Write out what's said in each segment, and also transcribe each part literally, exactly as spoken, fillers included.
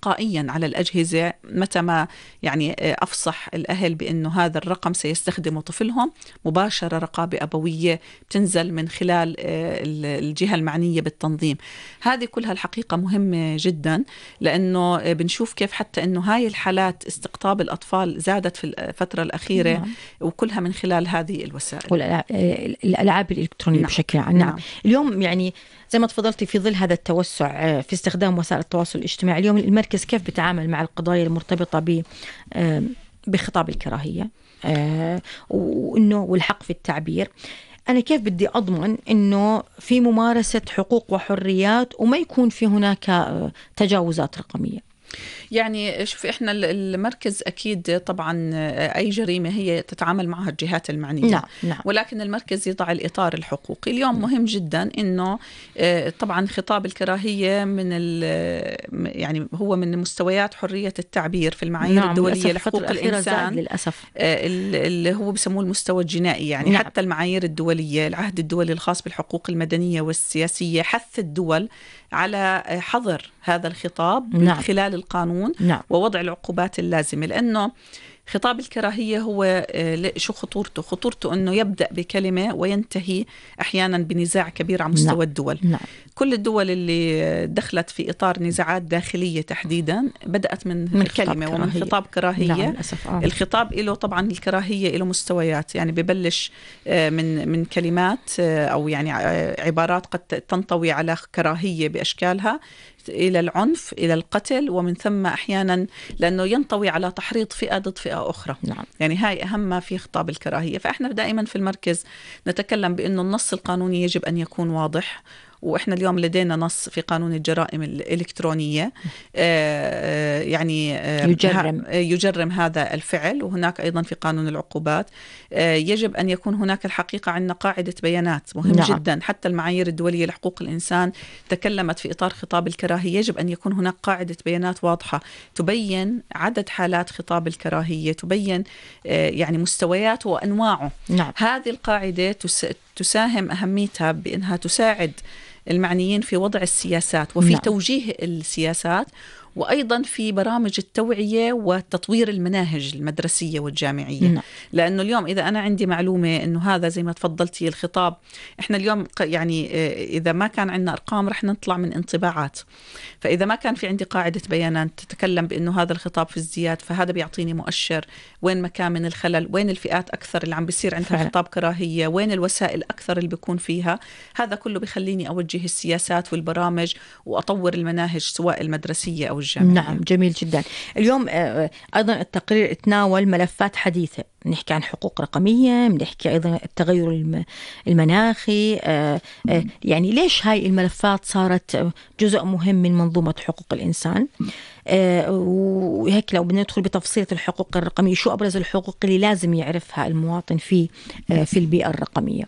تلقائيا على الأجهزة متى ما يعني أفصح الأهل بأنه هذا الرقم سيستخدمه طفلهم، مباشرة رقابة أبوية بتنزل من خلال الجهة المعنية بالتنظيم. هذه كلها الحقيقة مهمة جدا، لأنه بنشوف كيف حتى أنه هاي الحالات استقطاب الأطفال زادت في الفترة الأخيرة. نعم. وكلها من خلال هذه الوسائل والألعاب الإلكترونية. نعم. بشكل عام. نعم. نعم. اليوم يعني زي ما تفضلتي في ظل هذا التوسع في استخدام وسائل التواصل الاجتماعي، اليوم المركز كيف بيتعامل مع القضايا المرتبطة ب بخطاب الكراهية وإنه والحق في التعبير؟ أنا كيف بدي أضمن إنه في ممارسة حقوق وحريات وما يكون في هناك تجاوزات رقمية؟ يعني شوف، إحنا المركز أكيد طبعا أي جريمة هي تتعامل معها الجهات المعنية. نعم. نعم. ولكن المركز يضع الإطار الحقوقي. اليوم مهم جدا إنه طبعا خطاب الكراهية من يعني هو من مستويات حرية التعبير في المعايير. نعم. الدولية لحقوق الإنسان للأسف اللي هو بسموه المستوى الجنائي يعني. نعم. حتى المعايير الدولية، العهد الدولي الخاص بالحقوق المدنية والسياسية، حث الدول على حظر هذا الخطاب. نعم. من خلال القانون. نعم. ووضع العقوبات اللازمة، لأنه خطاب الكراهية هو شو خطورته؟ خطورته أنه يبدأ بكلمة وينتهي أحيانا بنزاع كبير على مستوى. نعم. الدول. نعم. كل الدول اللي دخلت في إطار نزاعات داخلية تحديدا بدأت من, من كلمة ومن خطاب كراهية. نعم. آه. الخطاب له طبعا الكراهية له مستويات، يعني ببلش من من كلمات أو يعني عبارات قد تنطوي على كراهية بأشكالها، إلى العنف، إلى القتل، ومن ثم أحيانا لأنه ينطوي على تحريض فئة ضد فئة أخرى. نعم. يعني هاي أهم ما في خطاب الكراهية. فإحنا دائما في المركز نتكلم بأنه النص القانوني يجب أن يكون واضح، وإحنا اليوم لدينا نص في قانون الجرائم الإلكترونية آه يعني آه يجرم. يجرم هذا الفعل، وهناك أيضا في قانون العقوبات آه يجب أن يكون هناك الحقيقة عندنا قاعدة بيانات مهم. نعم. جدا. حتى المعايير الدولية لحقوق الإنسان تكلمت في إطار خطاب الكراهية، يجب أن يكون هناك قاعدة بيانات واضحة تبين عدد حالات خطاب الكراهية، تبين آه يعني مستوياته وأنواعه. نعم. هذه القاعدة تساهم أهميتها بأنها تساعد المعنيين في وضع السياسات وفي. نعم. توجيه السياسات، وأيضا في برامج التوعية وتطوير المناهج المدرسية والجامعية. نعم. لأنه اليوم إذا أنا عندي معلومة أنه هذا زي ما تفضلتي الخطاب، إحنا اليوم يعني إذا ما كان عندنا أرقام رح نطلع من انطباعات. فإذا ما كان في عندي قاعدة بيانات تتكلم بأنه هذا الخطاب في ازدياد، فهذا بيعطيني مؤشر وين مكان من الخلل، وين الفئات أكثر اللي عم بيصير عندها فعلا. خطاب كراهية، وين الوسائل أكثر اللي بيكون فيها. هذا كله بيخليني أوجه السياسات والبرامج وأطور المناهج سواء المدرسية أو الجامعية. نعم. جميل جدا. اليوم أيضا التقرير تناول ملفات حديثة، نحكي عن حقوق رقمية، بنحكي أيضا التغير المناخي. يعني ليش هاي الملفات صارت جزء مهم من منظومة حقوق الإنسان؟ وهيك لو بدنا ندخل بتفصيل الحقوق الرقمية، شو أبرز الحقوق اللي لازم يعرفها المواطن في في البيئة الرقمية؟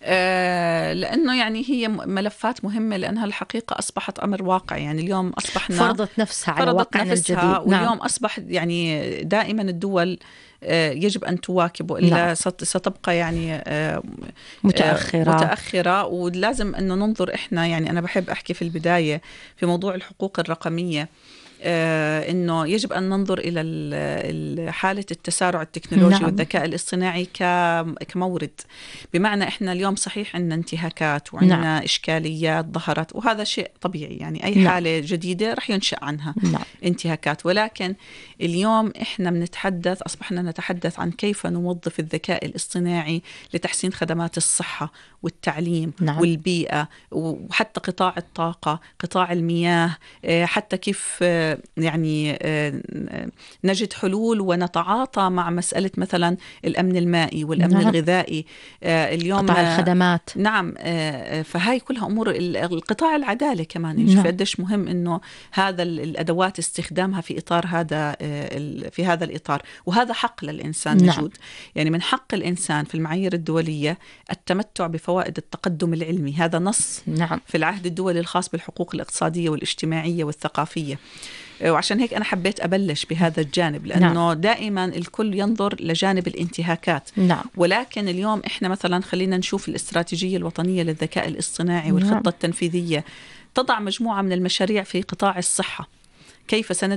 آه لأنه يعني هي ملفات مهمة، لأنها الحقيقة أصبحت أمر واقع. يعني اليوم أصبحنا فرضت نفسها على واقعنا الجديد. واليوم نعم. أصبح يعني دائما الدول آه يجب أن تواكب، إلا نعم. ستبقى يعني آه متأخرة. آه متأخرة. ولازم أنه ننظر إحنا، يعني أنا بحب أحكي في البداية في موضوع الحقوق الرقمية آه إنه يجب أن ننظر إلى حالة التسارع التكنولوجي. نعم. والذكاء الاصطناعي كمورد. بمعنى إحنا اليوم صحيح عندنا انتهاكات وعندنا نعم. إشكاليات ظهرت، وهذا شيء طبيعي. يعني أي نعم. حالة جديدة رح ينشأ عنها نعم. انتهاكات. ولكن اليوم إحنا بنتحدث، أصبحنا نتحدث عن كيف نوظف الذكاء الاصطناعي لتحسين خدمات الصحة والتعليم نعم. والبيئة، وحتى قطاع الطاقة، قطاع المياه، حتى كيف يعني نجد حلول ونتعاطى مع مسألة مثلا الأمن المائي والأمن نعم. الغذائي. اليوم قطاع الخدمات. نعم. فهاي كلها أمور. القطاع العدالة كمان نعم. قديش مهم إنه هذا الأدوات استخدامها في إطار هذا في هذا الإطار، وهذا حق للإنسان نعم. موجود. يعني من حق الإنسان في المعايير الدولية التمتع بفوائد التقدم العلمي. هذا نص نعم. في العهد الدولي الخاص بالحقوق الاقتصادية والاجتماعية والثقافية. وعشان هيك أنا حبيت أبلش بهذا الجانب، لأنه نعم. دائما الكل ينظر لجانب الانتهاكات نعم. ولكن اليوم إحنا مثلا خلينا نشوف الاستراتيجية الوطنية للذكاء الاصطناعي والخطة نعم. التنفيذية تضع مجموعة من المشاريع في قطاع الصحة. كيف سند